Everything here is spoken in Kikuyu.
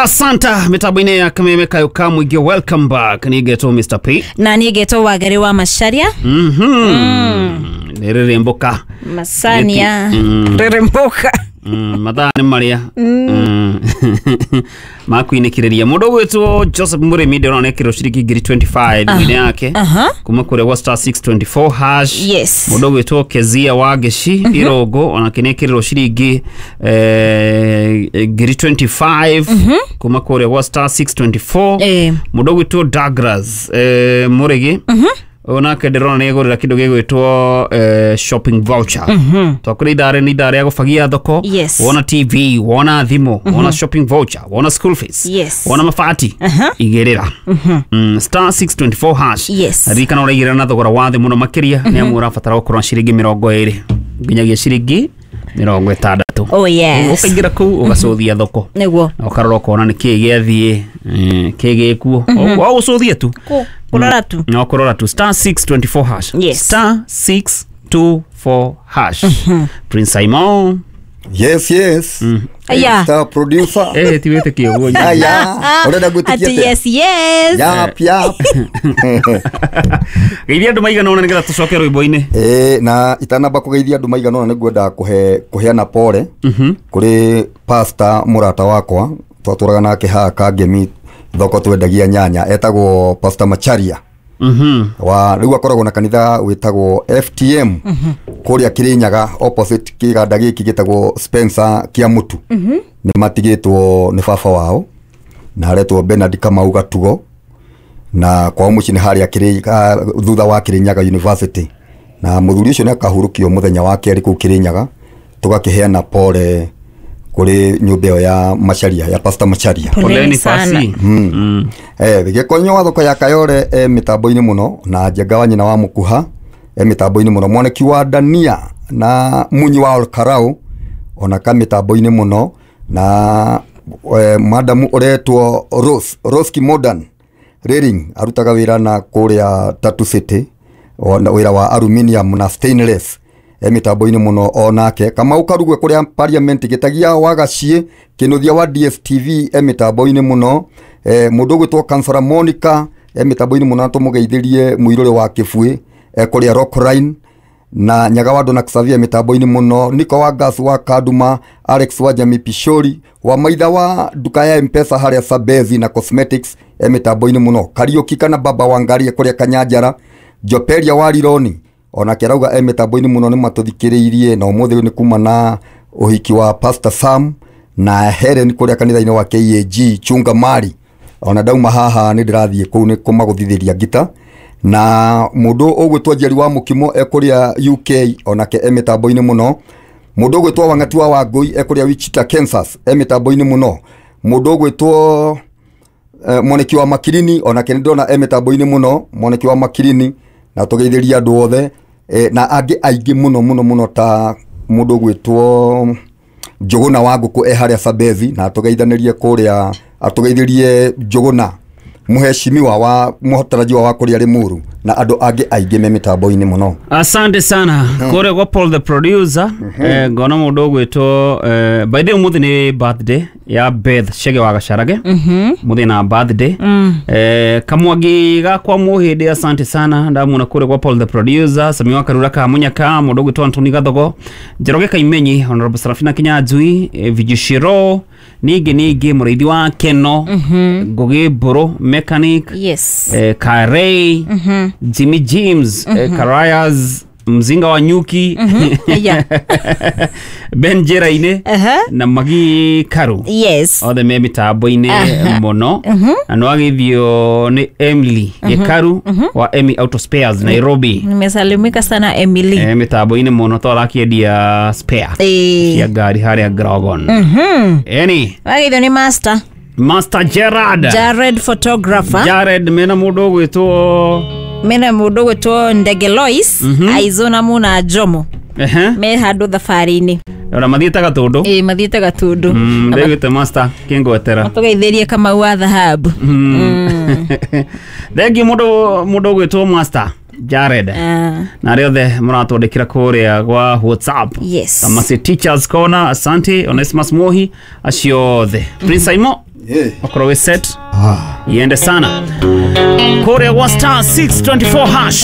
Asanta mitambo-inĩ ya Kameme Kayo ka Mũingĩ, welcome back. Niĩ ngetwo Mr P. Na niĩ ngetwo Wangari wa Macharia. Nĩ rĩrĩmbũka. Macania rĩrĩmbũka. Mathaa nĩ marĩa makuinĩkĩrĩria. Mũndũ ũgwĩtwo Joseph Mũrĩmi ndĩrona ekĩrwo ciringi ngiri 25 thimũ-inĩ yake kuma kũrĩa gwa star 624 hash. Yes. Mũndũ ũgwĩtwo Kezia wa Ngeci Irũngũ onake nĩ ekĩrĩrwo ciringi ngiri 25 kuma kũrĩa gwa star 624. Mũndũ ũgwĩtwo Douglas Mũrĩgi ũyũ nake ndĩrona nĩ egũrĩra kĩndũ gĩgwĩtwo shopping voucher. Twakũrĩ ithaa rĩ nĩ ithaa rĩa gũbagia thoko. Yes. Wona TV, wona thimũ, wona shopping voucher, wona school fees, Yes. wona mabati, igĩrĩra star 624 hash. Yes. Ririkana ũraigĩrĩra na thogora wa thĩ mũno makĩria nĩ amu ũrabatara gũkorwo na ciringi 20 nginyagia ciringi 60. Oh yes. Ũkaingĩra kũu ũgacũthia thoko Nĩguo. na ũkarora ũkona nĩ kĩĩ gĩathiĩ, kĩĩ gĩkuo, o gũcũthia tu. Kũrora tu. No kũrora tu star 624 hash. Yes. Star 624 hash. Prince Simon. Yes. Aya. Star producer. Eh, ti wĩtĩkie ũguo. Aya. Ũrenda gwĩtĩkia Ati atĩa? yes yes. Yap, yap. Geithia andũ maigana ũna nĩgetha tũcoke rwĩmbo-inĩ. Ĩĩ, na itanamba kũgeithia andũ maigana ũna nĩngwenda kũhe kũheana pole kũrĩ pastor mũrata wakwa twatũraga nake haha Kangemi thoko twendagia nyanya, etagwo Pastor Macharia. Wa rĩu akoragwo na kanitha wĩtagwo FTM kũrĩa Kirinyaga, opposite kĩganda gĩkĩ gĩtagwo Spencer kĩa mũtu. Nĩ matigĩtwo nĩ baba wao na aretwo Bernard Kamau Gatugo, na kwao mũciĩ nĩ harĩa thutha wa Kirinyaga University, na mũthuri ũcio nĩ akahurũkio mũthenya wa kerĩ kũu Kirinyaga. Tũgakĩheana pole kũrĩ nyũmba ĩyo ya Macharia, ya Pastor Macharia. Poleni Poleni sana. pasi. Gĩkonyo wa thoko ya Kayore e mĩtambo-inĩ mũno, na Njenga wa nyina wa Mũkuha e mĩtambo-inĩ mũno, mwaneki wa Dania na Munyi wa Olkarau ona ka mĩtambo-inĩ mũno, na madamu ũretwo Rose Kimodan Railing arutaga wĩra na kũrĩa Tatu City, ona wĩra wa aluminium na stainless, e mĩtambo-inĩ mũno onake. Kamau Karugwe kũrĩa parliament, Gĩtagia wa Gaciĩ Kĩnũthia wa DSTV e mĩtambo-inĩ mũno, mũndũ ũgwĩtwo Kansara Monica e mĩtambo-inĩ mũno, na tũmũgeithĩrie mũirũrĩ wa Kĩbuĩ e kũrĩa Rockline, na Nyaga wa Dona Xavier mĩtambo-inĩ mũno, Niko wa Gas wa Kaduma, Alex wa Jami Pishori wa maitha wa nduka ya Mpesa harĩa Sabezi na Cosmetics e mĩtambo-inĩ mũno, Kariũki kana Baba wa Ngarie kũrĩa Kanyanjara, Joperia wa Rironi onake arauga e mĩtambo-inĩ mũno, nĩ matũthikĩrĩirie na ũmũthĩ nĩ kuma na ũhiki wa Pastor Sam na Helen kũrĩa kanitha-inĩ wa KAG Chunga Mari. Ona ndauma haha nĩ ndĩrathiĩ kũu nĩ kũmagũthithĩria ngita. Na mũndũ ũgwĩtwo Njeri wa Mũkimo e kũrĩa UK onake e mĩtambo-inĩ mũno, mũndũ ũgwĩtwo Wang'ati wa Wangũi e kũrĩa Wichita, Kansas e mĩtambo-inĩ mũno, mũndũ ũgwĩtwo Mwaniki wa Makirini onake nĩ ndĩrona e mĩtambo-inĩ mũno, Mwaniki wa Makirini, na tũgeithĩria andũ othe, na angĩ aingĩ mũno mũno mũno ta mũndũ ũgwĩtwo Njũgũna wa Ngũkũ e harĩa Sabezi, na tũgeithanĩrie kũrĩa, atũgeithĩrie Njũgũna mũheshimiwa wa mũtarajiwa wa kũrĩa Limuru na andũ angĩ aingĩ me mĩtambo-inĩ mũno. Asante sana kũrĩa gwa Paul the producer. Ngona mũndũ ũgwĩtwo by the way ũmũthĩ nĩ birthday ya Beth Chege wa Gacarage, mũthĩ na birthday Kamwangi gakwa Mũhĩndĩ, asante sana, ndamuona kũrĩa gwa Paul the producer. Sami wa Karura ka Munyaka, mũndũ ũgwĩtwo Anthony Gathogo, Njoroge Kaimenyi, Honorable Serafina Kinyanjui, Vijishiro ningĩ mũrĩithi wa Keno, Ngũgĩ Mbũrũ mechanic, Yes. Karei, Jimmy James, Karayas Mzinga wa Nyuki, Aya. Ben Njĩra-inĩ na Magi Karu. Yes. Othe me mĩtambo-inĩ mũno, na nĩwagĩthio nĩ Emily Gĩkaru wa Emmy Auto Spares Nairobi. Nimesalimika sana Emily. Mĩtambo-inĩ mũno to arakĩendia spare cia ngari harĩa Grogon. Eni Wagĩthio nĩ master Master Gerard. Jared photographer. Jared mena mũndũ ũgwĩtwo Mena mũndũ ũgwĩtwo Ndege Lois, Aizona Muna Jomo me handũ thabarĩ-inĩ. Ona mathiĩte Gatũndũ. Ĩĩ, mathiĩte Gatũndũ. Ndĩgwĩte master kĩngwetera. Tũgeithĩrie Kamau wa thahabu. Thengiũ mũndũ ũgwĩtwo Master Jared na arĩa othe mũratwandĩkĩra kũrĩa gwa WhatsApp. Yes. Tamasi Teachers Corner, asante. Onesimus Mohi, acio othe. Prince Aimo. Okorwo wĩ set, iende sana kũrĩa gwa star 624 hash.